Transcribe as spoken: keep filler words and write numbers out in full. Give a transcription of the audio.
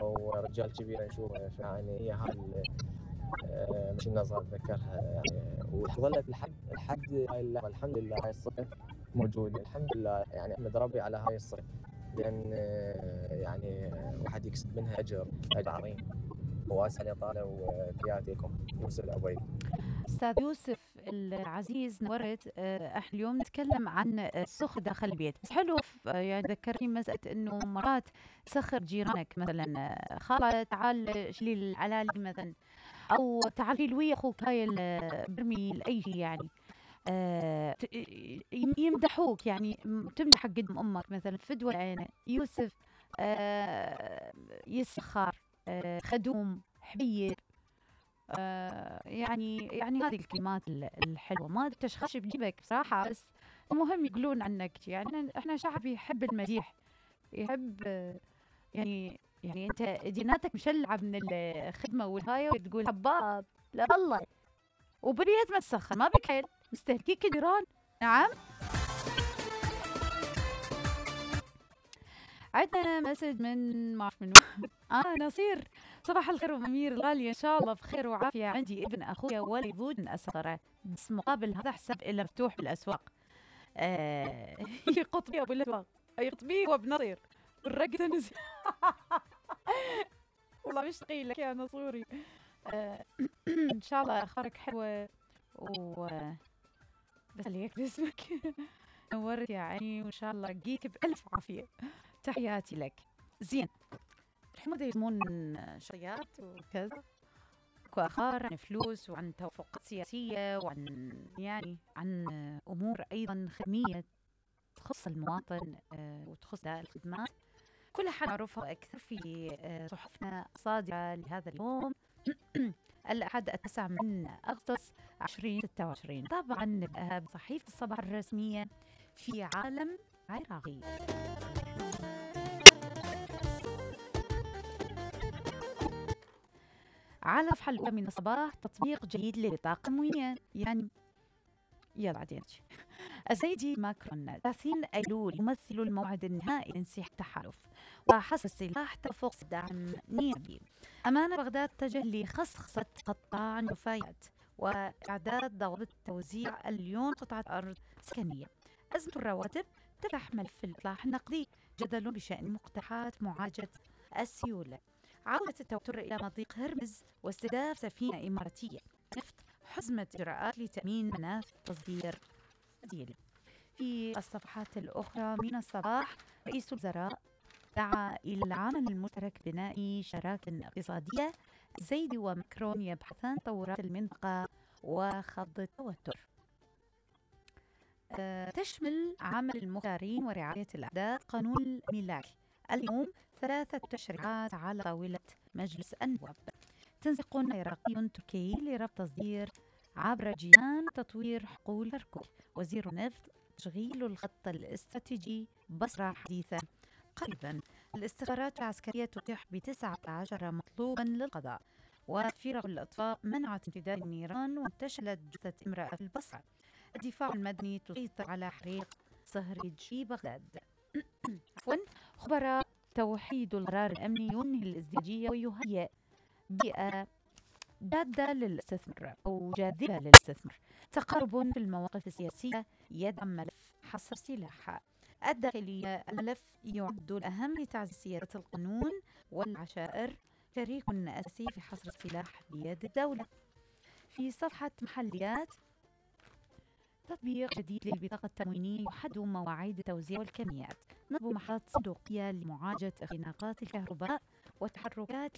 ورجال كبير نشوفه، يعني هي هاي آه، مش النظر اتذكرها يعني. وظلت لحد لحد هاي اللحظه الحمد لله هاي الصفه موجوده الحمد لله، يعني احمد ربي على هاي الصفه، لان آه، يعني واحد يكسب منها اجر اجر عظيم. واسال يا طالع وتحياتي لكم. يوسف العبيد. أستاذ يوسف العزيز نورت. آه، احنا اليوم نتكلم عن السخ داخل البيت، بس حلو آه، يعني ذكرني مسألة انه مرات سخر جيرانك مثلا، آه، خالة تعال شيلي العلالي مثلا، او تعال شيل ويا اخوك هاي ال- برمي لاي شيء يعني. آه، ت- ي- يمدحوك يعني، م- تمدح قدام امك مثلا فدوى العين يوسف، آه، يسخر، آه، خدوم حبيب. آه يعني يعني هذه الكلمات ال- الحلوة ما تشخش بجيبك بصراحة، بس المهم يقولون عنك يعني احنا شعب يحب المديح، يحب آه، يعني يعني انت جيناتك مشلعة من الخدمة والهاي وتقول هباب، لا والله. وبريت ما تسخن ما بك حيل مستهلكيك جيران. نعم. عندنا مسج من ما اعرف منو. اه نصير، صباح الخير وامير الغالي، ان شاء الله بخير وعافيه. عندي ابن اخويا ولد من اسطره، بس مقابل هذا حساب إلا مفتوح بالاسواق. آه يقطبي ابو الاسواق، يقطبي هو بنصير والرقده نزل. والله مشتاقين لك يا نصوري. آه ان شاء الله اخبارك حلوه و بس عليك باسمك. نورت يا عيني، وان شاء الله اجيك بالف عافيه. تحياتي لك. زين، الحين بدأوا يسمون شخصيات وكذا وآخر عن فلوس وعن توافقات سياسية وعن يعني عن أمور أيضا خدمية تخص المواطن آه، وتخص الخدمات كلها حنعرفها أكثر في آه، صحفنا الصادرة لهذا اليوم. الأحد التاسع من أغسطس ألفين وستة وعشرين. طبعا نبدأها بصحيفة الصباح الرسمية في عالم عراقي. على الصفحة الأولى من الصباح تطبيق جديد لبطاقة تموينية، يعني يلا بعدين. السيد ماكرون ثلاثين أيلول يمثل الموعد النهائي لانسحاب التحالف وحصر السلاح تفوق دعم نيابي. أمانة بغداد تتجه لخصخصة قطاع النفايات وإعداد ضوابط توزيع مليون قطعة أرض سكنية. أزمة الرواتب تفتح ملف الإصلاح النقدي. جدل بشأن مقترحات معالجة السيولة. عودة التوتر إلى مضيق هرمز واستهداف سفينة إماراتية نفط. حزمة إجراءات لتأمين منافذ تصدير بديل. في الصفحات الأخرى من الصباح رئيس الوزراء دعا إلى العمل المشترك بناء شراكة اقتصادية. زيدي وماكرون يبحثان تطورات المنطقة وخفض التوتر. أه تشمل عمل المختارين ورعاية الأعداد قانون الملاك. اليوم ثلاثة تشريعات على طاولة مجلس النواب. تنسيق عراقي تركي لربط تصدير عبر جيران تطوير حقول كركوك. وزير النفط تشغيل الخط الاستراتيجي بصرة حديثة قريبا. الاستخبارات العسكرية تتيح بتسعة عشر مطلوبا للقضاء. وفرق الأطفاء منعت امتداد النيران وانتشلت جثة امرأة في البصرة. الدفاع المدني تسيطر على حريق صهريج في بغداد. عفوا. خبراء توحيد القرار الأمني ينهي الازدواجية ويهيئ بيئة جادة للاستثمار أو جاذبة للاستثمار. تقارب في المواقف السياسية يدعم ملف حصر السلاح. الداخلية الملف يعد الأهم لتعزيز سيادة القانون والعشائر شريك أساسي في حصر السلاح بيد الدولة. في صفحة محليات تطبيق جديد للبطاقة التموينية يحدد مواعيد التوزيع والكميات. نصب محطات صندوقية لمعالجة اختناقات الكهرباء وتحركات